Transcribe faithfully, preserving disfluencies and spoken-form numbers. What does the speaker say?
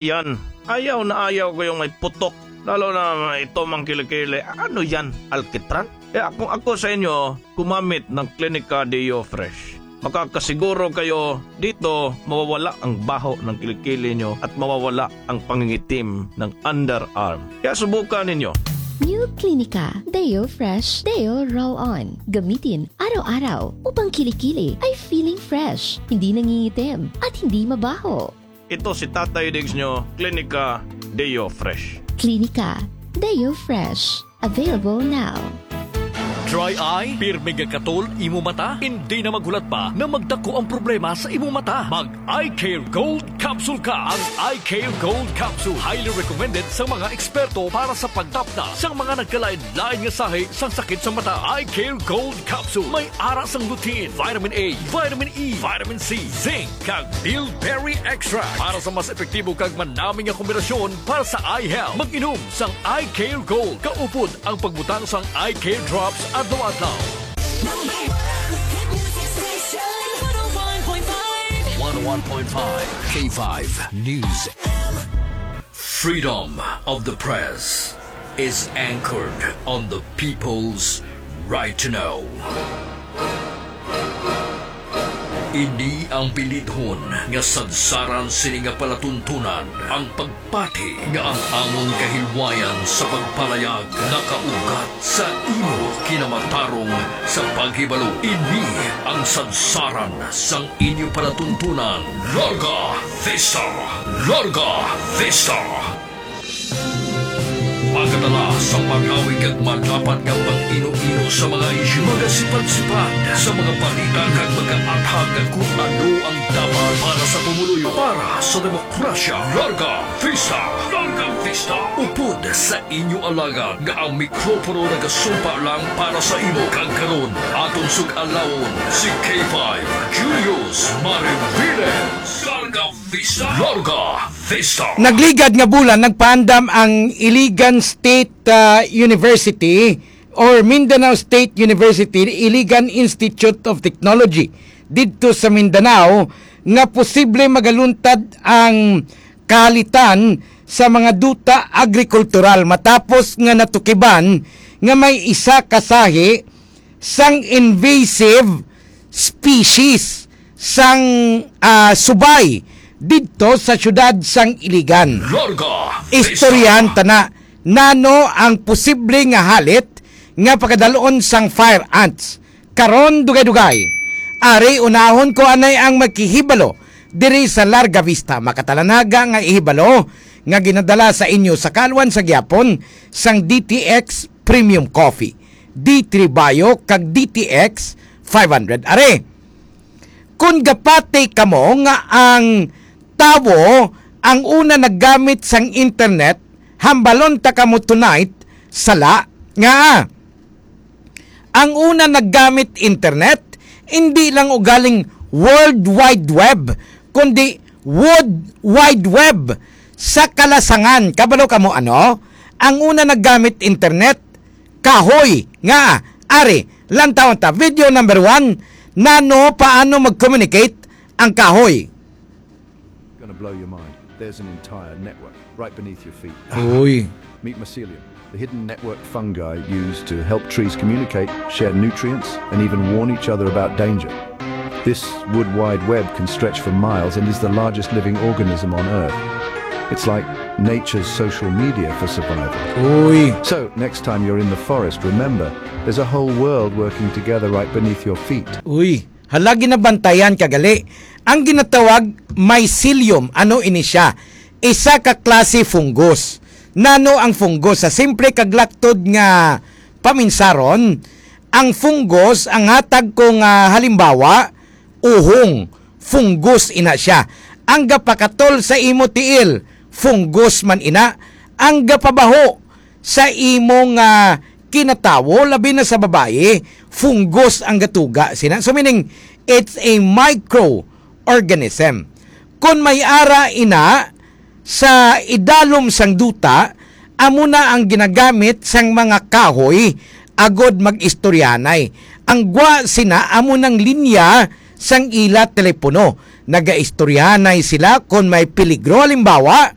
Yan. Ayaw na ayaw ko yung may putok. Lalo na ito, mga kilikili. Ano yan? Alkitran? Kaya kung ako sa inyo, gumamit ng Klinika Deo Fresh. Makakasiguro kayo dito mawawala ang baho ng kilikili nyo at mawawala ang pangingitim ng underarm. Kaya subukan ninyo. New Clinica Deo Fresh Deo Roll-On. Gamitin araw-araw upang kilikili ay feeling fresh, hindi nangingitim, at hindi mabaho. Ito si Tatay Diggs nyo, Klinika Deo Fresh. Clinica Deo Fresh. Available now. Dry eye? Pirmi nga katol imo mata? Hindi na maghulat pa na magdako ang problema sa imo mata. Mag Eye Care Gold Capsule ka. Ang Eye Care Gold Capsule highly recommended sa mga eksperto para sa pagtapna sa mga nagkalain-lain nga sahi sang sakit sa mata. Eye Care Gold Capsule may ara sang lutein, vitamin A, vitamin E, vitamin C, zinc, kag bilberry extract para sa mas epektibo kag manami nga kombinasyon para sa eye health. Mag-inom sang Eye Care Gold. Kaupod ang pagbutang sang Eye Care Drops adlaw-adlaw. Number one hit music station, one oh one point five. one oh one point five K five News. Freedom of the press is anchored on the people's right to know. Ini ang bilidhon nga sadsaran sini nga palatuntunan, ang pagpati nga ang amon kahilwayan sa pagpalayag nakaugat sa imo kinamatarong sa paghibalo. Ini ang sadsaran sang inyo palatuntunan. Larga Vista! Larga Vista! Magadala sa pagawig kag madapat nga pag-ino-ino sa mga isyu, magasipad-sipad sa mga balita kag magaathag kung ano ang dapat para sa pumuluyo, para sa demokrasya. Larga Vista! Larga Vista! Upod sa inyo alagad nga ang mikropono nagasumpa lang para sa imo, kag karon aton sug-alawon si K five Julius Mariviles. Larga Vista! Larga Vista! Nagligad nga bulan, nagpaandam ang Iligan State, ah, University or Mindanao State University, Iligan Institute of Technology didto sa Mindanao nga posible magaluntad ang kahalitan sa mga duta agrikultural matapos nga natukiban nga may isa ka sahi sang invasive species sang, ah, subay didto sa siyudad sang Iligan. Larga Istoryahan ta na nano ang posible nga halit nga pagadalon sang fire ants. Karon, dugay-dugay, ari unahon ko anay ang makahibalo diri sa Larga Vista. Makatalanaga nga ihibalo nga ginadala sa inyo sa kalwan sa gihapon sang D T X Premium Coffee, D three Bio kag D T X five hundred. Are, kon gapati kamo nga ang tawo ang una naggamit sang internet, hambalon ta kamo tonight, sala nga ang una naggamit internet, hindi lang ugaling World Wide Web, kundi Wood Wide Web sa kalasangan. Kabalo kamo ano? Ang una naggamit internet, kahoy nga. Ari, lantawon ta. Video number one, nano, paano mag-communicate ang kahoy? Gonna blow your mind. There's an entire network right beneath your feet. Uy. Meet mycelium, the hidden network fungi use to help trees communicate, share nutrients, and even warn each other about danger. This wood wide web can stretch for miles and is the largest living organism on Earth. It's like nature's social media for survival. Uy. So, next time you're in the forest, remember there's a whole world working together right beneath your feet. Uy. Hala, ginabantayan ka gali. Ang ginatawag mycelium, ano ini siya? Isa ka klase fungus. Nano ang fungus? Sa simple kag laktod nga paminsaron, ang fungus, ang hatag ko nga halimbawa, uhong, fungus ina siya. Ang gapakatol sa imo tiil, fungus man ina. Ang gapabaho sa imo nga kinatawo, labi na sa babayi, fungus ang gatuga sina. So meaning, it's a microorganism. Kon may ara ina sa idalom sang duta, amo na ang ginagamit sang mga kahoy agod mag-istoryanay. Ang gwa sina amo nang linya sang ila telepono. Nagaistoryanay sila kon may peligro, halimbawa,